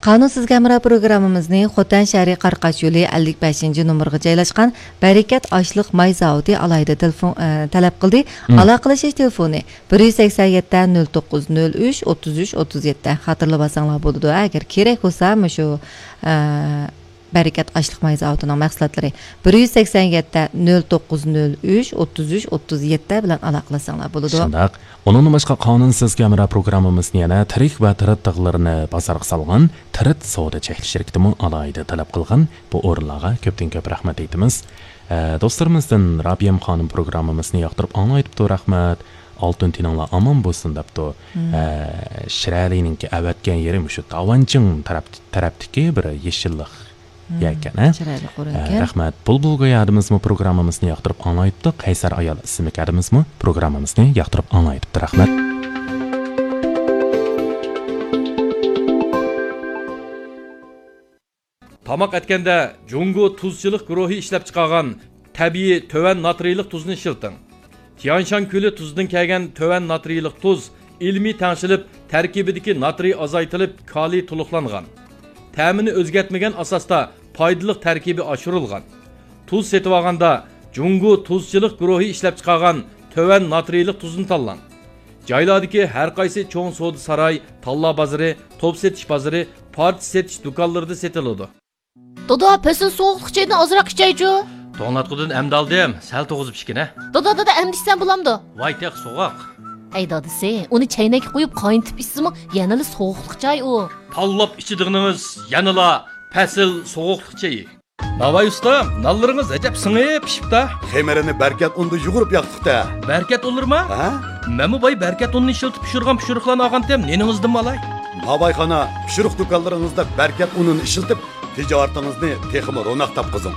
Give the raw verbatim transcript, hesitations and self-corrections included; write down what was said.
قانۇن سىزگە ھەمراھ پروگراممىمىزنى خوتەن شەھىرى قاراقاش يولى ئەللىك بەشىنچى نومۇرغا جايلاشقان بەرىكەت ئاشلىق ماي زاۋۇتى ئالاھىدە تېلېفون، ئە، تەلەپ قىلدى. مم. ئالاقىلىشىش تېلېفونى: بىر يۈز سەكسەن يەتتە، نۆل توققۇز، نۆل ئۈچ، ئوتتۇز ئۈچ، ئوتتۇز يەتتە. خاتىرىلىۋالساڭلار بولىدۇ. ئەگەر كېرەك بولسا، مۇشۇ، ئە، بەرىكەت ئاشلىق ماي زاۋۇتىنىڭ مەھسۇلاتلىرى: بىر يۈز سەكسەن يەتتە، نۆل توققۇز، نۆل ئۈچ، ئوتتۇز ئۈچ، ئوتتۇز يەتتە بىلەن ئالاقىلەشسەڭلار بولىدۇ. شۇنداق. ئۇنىڭدىن باشقا، قانۇن سىزگە ھەمراھ پروگراممىمىزنى يەنە تىرىك ۋە تىرىت تىغلىرىنى بازارغا سالغان تىرىت سودا چەكلىك شىركىتىمۇ ئالاھىدە تەلەپ قىلغان. بۇ ئورۇنلارغا كۆپتىن كۆپ رەھمەت ئېيتىمىز. ئە، دوستلىرىمىزدىن رابىيەم خانىم پروگراممىمىزنى ياقتۇرۇپ ئاڭلايتىپتۇ، رەھمەت. ئالتۇن تېنىڭلار ئامان بولسۇن دەپتۇ. مم. ئە، شىرەلىنىڭكى ئەۋەتكەن يېرى مۇشۇ داۋانچىڭ تەرەپ-، تەرەپتىكى بىر يېشىللىق مم، يەكەن، ھە؟ چىرايلىق ئورۇنكەن. ئە، رەھمەت. بۇلبۇل گويا ھەدىمىزمۇ پروگراممىمىزنى ياقتۇرۇپ ئاڭلايتتى. قەيسەر ئايال ئىسىملىك ھەدىمىزمۇ پروگراممىمىزنى ياقتۇرۇپ ئاڭلايتتى. رەھمەت. تاماق ئەتكەندە جۇڭگو تۇزچىلىق گۇرۇھى ئىشلەپچىقارغان تەبىئىي تۆۋەن ناترىيلىق تۇزنى ئىشلىتىڭ. تيانشان كۆلى تۇزىدىن كەلگەن تۆۋەن ناترىيلىق تۇز ئىلمىي تەڭشىلىپ، تەركىبىدىكى ناترىي ئازايتىلىپ، كالىي تولۇقلانغان. تەمىنى ئۆزگەرتمىگەن ئاساستا پايدىلىق تەركىبى ئاشۇرۇلغان. تۇز سېتىۋالغاندا جۇڭگو تۇزچىلىق گۇرۇھى ئىشلەپچىقارغان تۆۋەن ناترىيلىق تۇزنى تاللاڭ. جايلاردىكى ھەر قايسى چوڭ سودا ساراي، تاللا بازىرى، توپ سېتىش بازىرى، پارچە سېتىش دۇكانلىرىدا سېتىلىدۇ. دادا، پەسىل سوغۇقلۇق چېيىدىن ئازراق ئىچەيچۇ. توڭلاتقۇدىن ئەمدى ئالدىم، سەل توغۇزۇپ ئىچكىنە. دادا، دادا، ئەمدى ئىچسەم بولامدۇ؟ ۋاي تېخى سوغۇق. ھەي دادىسى، ئۇنى چەينەككە قويۇپ قاينىتىپ ئىچسىمۇ يەنىلا سوغۇقلۇق چاي ئۇ. تاللاپ ئىچىدىغىنىڭىز يەنىلا پەسىل سوغۇقلۇق چېيى. ناۋاي ئۇستا، نانلىرىڭىز ئەجەب سىڭىپ پىشىپتا. خېمىرىنى بەركەت ئۇندا يۇغۇرۇپ ياقتۇق-تە. بەركەت ئۇنلىرىما؟ ھە؟ مەنمۇ باي بەركەت ئۇنىنى ئىشلىتىپ پىشۇرغان پىشۇرۇقلارنى ئالغانتىم، نېنىڭىزدىنمۇ ئالاي؟ ناۋايخانا پىشۇرۇق دۇكانلىرىڭىزدا بەركەت ئۇنىنى ئىشلىتىپ، تىجارىتىڭىزنى تېخىمۇ روناق تاپقۇزۇڭ.